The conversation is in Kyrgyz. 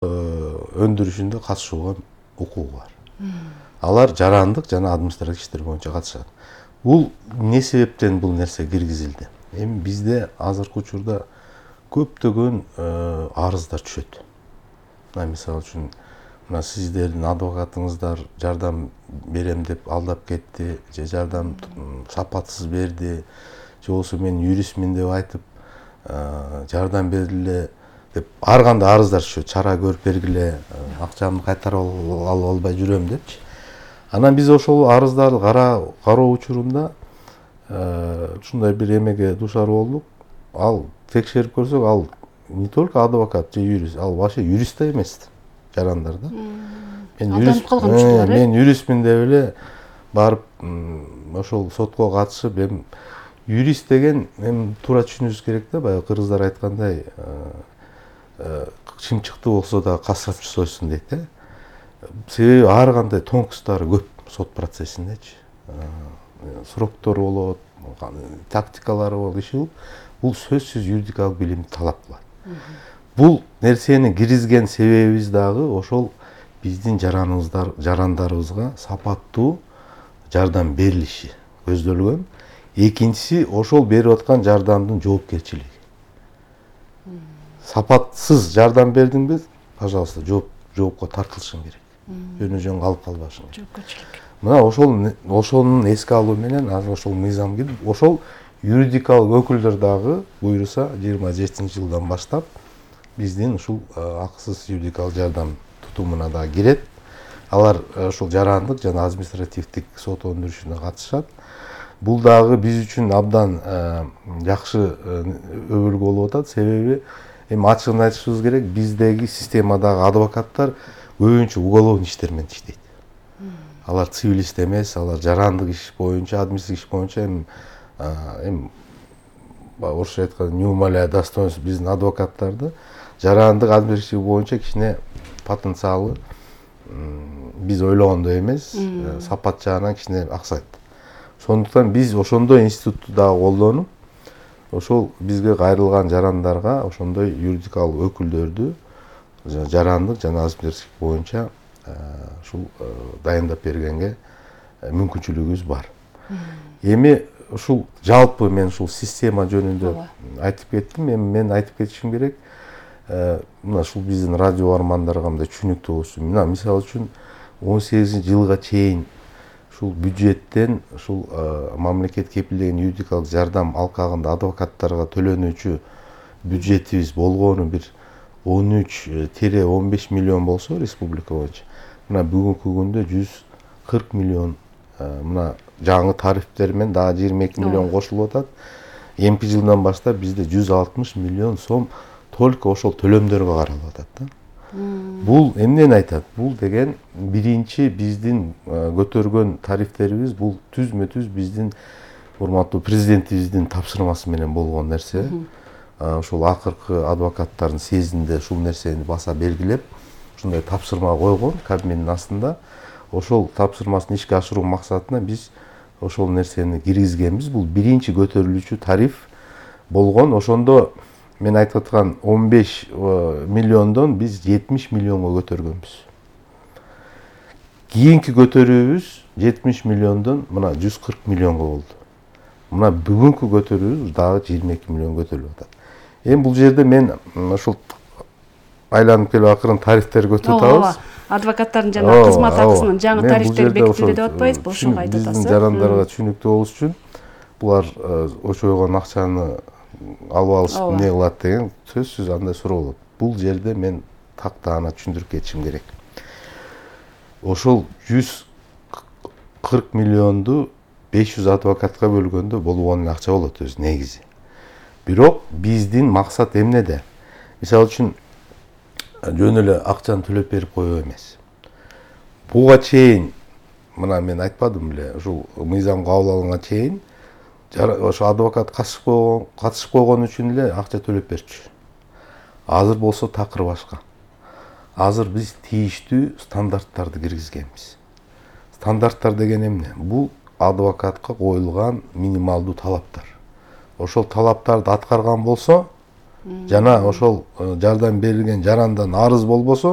өндүрүшүндө катышууга укугу бар. Алар жарандык жана административдик иштер боюнча катышат. Бул эмне себептен бул нерсе киргизилди? Эми бизде азыркы учурда көптөгөн арыздар түшөт. Мисалы үчүн мына сиздердин адвокатыңыздар жардам берем деп алдап кетти, же жардам сапатсыз берди, же болбосо мен юристмин деп айтып жардам бергиле деп ар кандай арыздар түшөт. Чара көрүп бергиле, акчамды кайтарып алып албай жүрөм депчи. Анан биз ошол арыздарды кароо учурунда ушундай бир эмеге дуушар болдук. Ал текшерип көрсөк, ал не только адвокат же юрист, ал вообще юрист да эмес жарандар да. Мен юристмин деп эле барып ошол сотко катышып, эми юрист деген эми туура түшүнүшүбүз керек да, баягы кыргыздар айткандай чымчыкты болсо да касапчы сойсун дейт да. Себеби ар кандай тонкосттору көп сот процессиндечи. Сроктору болот, тактикалары болот, иши бул сөзсүз юридикалык билимди талап кылат. Бул нерсени киргизген себебибиз дагы ошол биздин жарандарыбызга сапаттуу жардам берилиши көздөлгөн. Экинчиси ошол берип аткан жардамдын жоопкерчилиги. Сапатсыз жардам бердиңби, пожалуйста, жоопко тартылышың керек. Жөн калып калбашың керек. Жоопкерчилик. Мына ошонун эске алуу менен азыр ошол мыйзам кирип, ошол юридикалык өкүлдөр дагы буйруса 27-жылдан баштап биздин ушул акысыз юридикалык жардам тутумуна да кирет. Алар ушул жарандык жана административдик сот өндүрүшүнө катышат. Бул дагы биз үчүн абдан жакшы өбөлгө болуп атат. Себеби эми ачыгын айтышыбыз керек, биздеги системадагы адвокаттар көбүнчө уголовный иштер менен иштейт. Алар цивилист эмес, алар жарандык иш боюнча, административдик иш боюнча эми орусча айтканда не умаляя достоинств биздин адвокаттарды жарандык административдик боюнча кичине потенциалы биз ойлогондой эмес, сапат жагынан кичине аксайт. Сондуктан биз ошондой институтту дагы колдонуп, ошол бизге кайрылган жарандарга ошондой юридикалык өкүлдөрдү жарандык жана административдик боюнча ушул дайындап бергенге мүмкүнчүлүгүбүз бар. Эми ушул жалпы мен ушул система жөнүндө айтып кеттим. Эми мен айтып кетишим керек, мына ушул биздин радио армандарга мындай түшүнүктүү болуш үчүн, мына мисалы үчүн 18-жылга чейин ушул бюджеттен ушул мамлекет кепилдеген юридикалык жардам алкагында адвокаттарга төлөнүүчү бюджетибиз болгону бир 13-15 миллион болсо республика боюнча, мына бүгүнкү күндө 140 миллион, мына жаңы тарифтер менен дагы 22 миллион кошулуп атат. Эмки жылдан баштап бизде 160 миллион сом только ошол төлөмдөргө каралып атат да. Бул эмнени айтат? Бул деген биринчи биздин көтөргөн тарифтерибиз, бул түзмө-түз биздин урматтуу президентибиздин тапшырмасы менен болгон нерсе. Ушул акыркы адвокаттардын съездинде ушул нерсени баса белгилеп, ушундай тапшырма койгон Кабминдин астында. Ошол тапшырмасын ишке ашыруу максатында биз ошол нерсени киргизгенбиз. Бул биринчи көтөрүлүүчү тариф болгон. Ошондо мен айтып аткан 15 миллиондон биз 70 миллионго көтөргөнбүз. Кийинки көтөрүүбүз 70 миллиондон мына 140 миллионго болду. Мына бүгүнкү көтөрүүбүз дагы 22 миллион көтөрүлүп атат. Эми бул жерде мен ушул айланып келип акырын тарифтерди көтөрүп атабыз. Адвокаттардын жана кызмат акысынын жаңы тарифтери бекитилди деп атпайбызбы? Ошого айтып атасыз. Биздин жарандарга түшүнүктүү болуш үчүн булар очойгон акчаны алып алышып эмне кылат деген сөзсүз андай суроо болот. Бул жерде мен тактаана түшүндүрүп кетишим керек. Ошол 140 миллионду 500 адвокатка бөлгөндө болгон акча болот өзү негизи. Бирок биздин максат эмнеде? Мисалы үчүн жөн эле акчаны төлөп берип коюу эмес. Буга чейин мына мен айтпадым беле, ушул мыйзам кабыл алынганга чейин ошо адвокат катышып койгон үчүн эле акча төлөп берчү. Азыр болсо такыр башка. Азыр биз тийиштүү стандарттарды киргизгенбиз. Стандарттар деген эмне? Бул адвокатка коюлган минималдуу талаптар. Ошол талаптарды аткарган болсо, жана ошол жардам берилген жарандан арыз болбосо